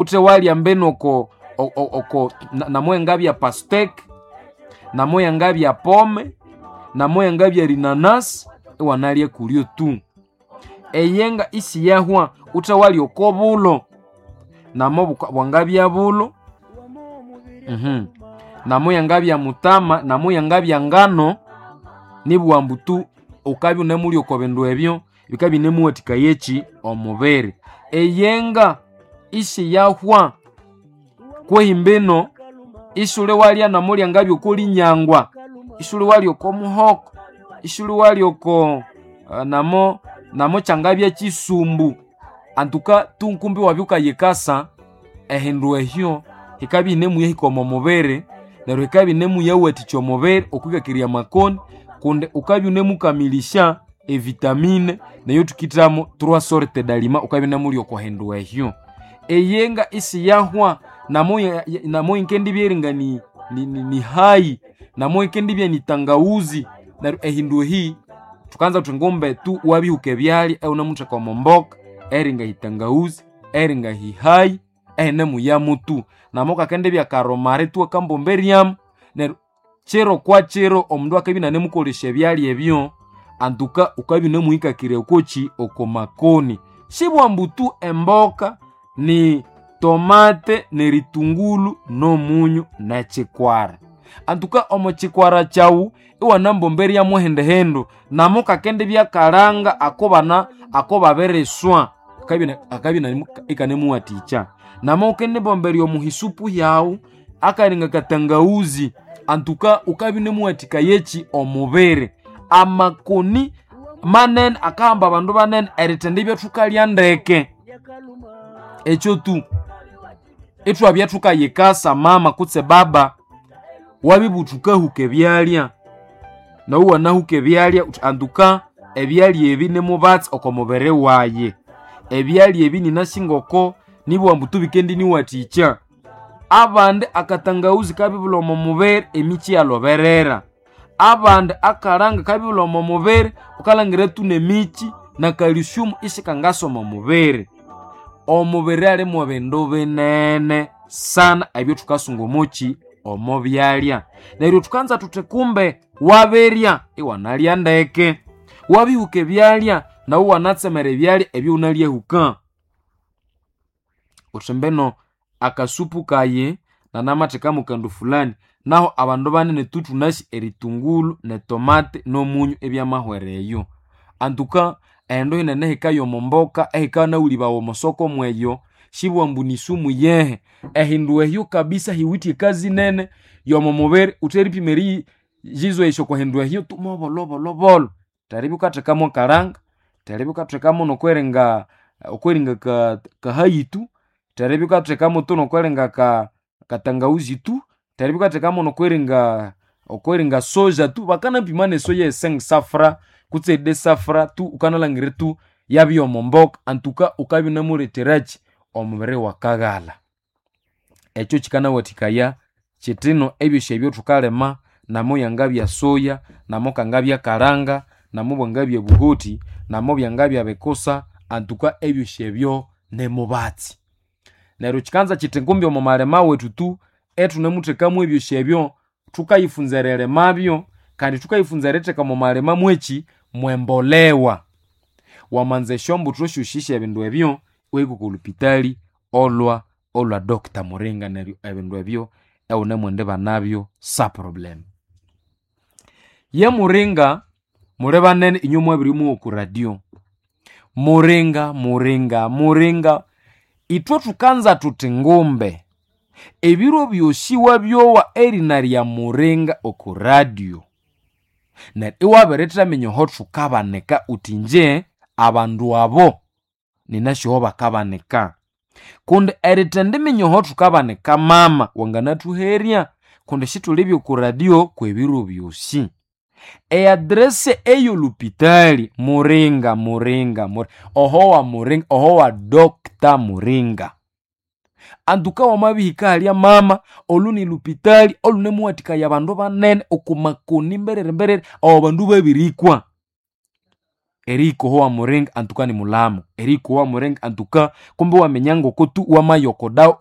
Uthe walya mbino oko oko namoyangabya pasteke, namoyangabya pome, namoyangabya rinanasi, iwanalya kulyo tu. Eyenga isiyahwa, uthe walya oko bulo, namo bwangabya bulo, namoyangabya mutama, namoyangabya ngano, nibughambu tu wukabya iwunemulya oko bindu ebyo, bikabya ibinemuwathikaya eki? Omubiri. Eyenga isiyahwa kwehi mbino isuli walya namulyangabya oko linyangwa, isuli walya oko muhoko, isuli walya oko namo namo kyangabya kisumbu. Antuka tu kumbi iwabya wukayikasa ehindu ehyo hikabya ihinemuya omo mubiri neryo hikabya ihinemuyawathikya omubiri okwikakirya amakoni kundi wukabya iwunemukamilisya evitamine neyo thukithamo trois sortes d'aliment wukabya iwunemulya oko hindu ehyo. Eyenga isiyahwa namo yikendibya eringa ni hayi, namo yikendibya ni tangawuzi, neryo ehindu ehi thukanza thuthi ngumbe tu wabihuka ebyalya iwunemutheka omo mboka eringa hitangawuzi, eringa hihayi, ehinemuyamu tu. Namo kakendibya karomari tu akambomberyamu neryo kiro kwa kiro omundu akabya inanemukolesya ebyalya ebyo antuka wukabya iwunemuhikakirya okoki? Oko makoni. Sibughambu tu emboka ni tomate neritungulu nomunyu nekikwara. Antuka omo kikwara kyawu iwanambomberyamu hindi hindu namo kakendibya kalanga akobana akobabiriswa akabya ikanemuwathikya. Namo wukendibomberya omu hisupu yawu akalinga katangawuzi antuka wukabya iwunemuwathikaya eki? Omubiri. Amakoni manene akahamba abandu banene erithendibya thukalya ndeke. Ekyo tu ithwabya thukayikasa mama kutse baba wabibugha thukahuka ebyalya, nawu wanahuka ebyalya wuthi antuka ebyalya ebi nimubatsi oko mubiri wayi. Ebyalya ebi ninasi ngoko nibughambu tu bikendiniwathikya. Abandi akatangawuzi kabibulha omo mubiri emikyi iyaloberera. Abandi akalanga kabibulha omo mubiri wukalhangira tu nemikyi na calcium isikangasa omo mubiri. Omubiri ali mwebindu binene sana ebyathukasunga omoki? Omo byalya. Neryo thukanza thuthi kumbe wabirya iwanalya ndeke, wabihuka ebyalya nawu iwanatsemera ebyalya ebyawunalyahuka. Wuthi mbino akasupu kayi nanamathekamu kandu fulani, nahu abandu banene tu thunasi eritungulu netomate nomunyu ibyamahwera eyo. Antuka ehindu hinene hikaya omo mboka ehikanawulibawa omo soko mweyo, sibughambu ambu ni sumu yehe. Ehindu ehyo kabisa hiwithe ekazi nene yomo mubiri wuthi eripima eriyizoesya oko hindu ehyo tu mobolhobolho. Theribya wukathekamu akalanga, theribya wukathekamu nokweringa okweringa kahayi tu, theribya wukathekamu tu nokweringa katangawuzi tu, theribya wukathekamu nokweringa okweringa soja tu, bakanapima nesoya ye cinq cent francs kutse deux cent francs tu wukanalhangira tu yabya omo mboka antuka wukabya iwunemuletherakyi? Omubiri iwakaghalha. Ekyo kikanawathikaya kyithino ebyosi ebyo thukalima namo yangabya soya, namo kangabya kalanga, namo bwangabya buhoti, namo byangabya bikusa, antuka ebyosi ebyo nimubatsi. Neryo kyikanza kyithi ngumbi omo malima wethu tu ithunemuthekamu ebyosi ebyo, thukayifunza eririmabyo kandi thukayifunza eritheka omo malima mwekyi? Mwembolewa. Wamanza esyombuthu syosi syebindu ebyo iwahika oko lupitali olwa olwa Doctor Muringa neryo ebindu ebyo iwunemwendibanabyo sa problem. Ye Muringa muli banene inywe mwabirimuwa oku radio. Muringa, Muringa, Muringa ithwe thukanza thuthi ngumbe ebiro byosi wabyowa erina lya Muringa oku radio neryo iwabirithaminya aho thukabanika wuthi inje abandu abo ninasi aho bakabanika. Kundi erithendiminya aho thukabanika mama wanganathuherya kundi sithulibya oku radio kwebiro byosi. E address eyolupitali Muringa, Muringa, Muringa oho wa Muringa oho wa Doctor Muringa. Antuka wamabihika halya mama olu ni lupitali olunemuwathikaya abandu banene oko makoni mberere mberere abo bandu babirikwa. Eriyikohowa muringa antuka ni mulamo. Eriyikohowa muringa antuka kumbe waminya ngoko tu wamayokodawa.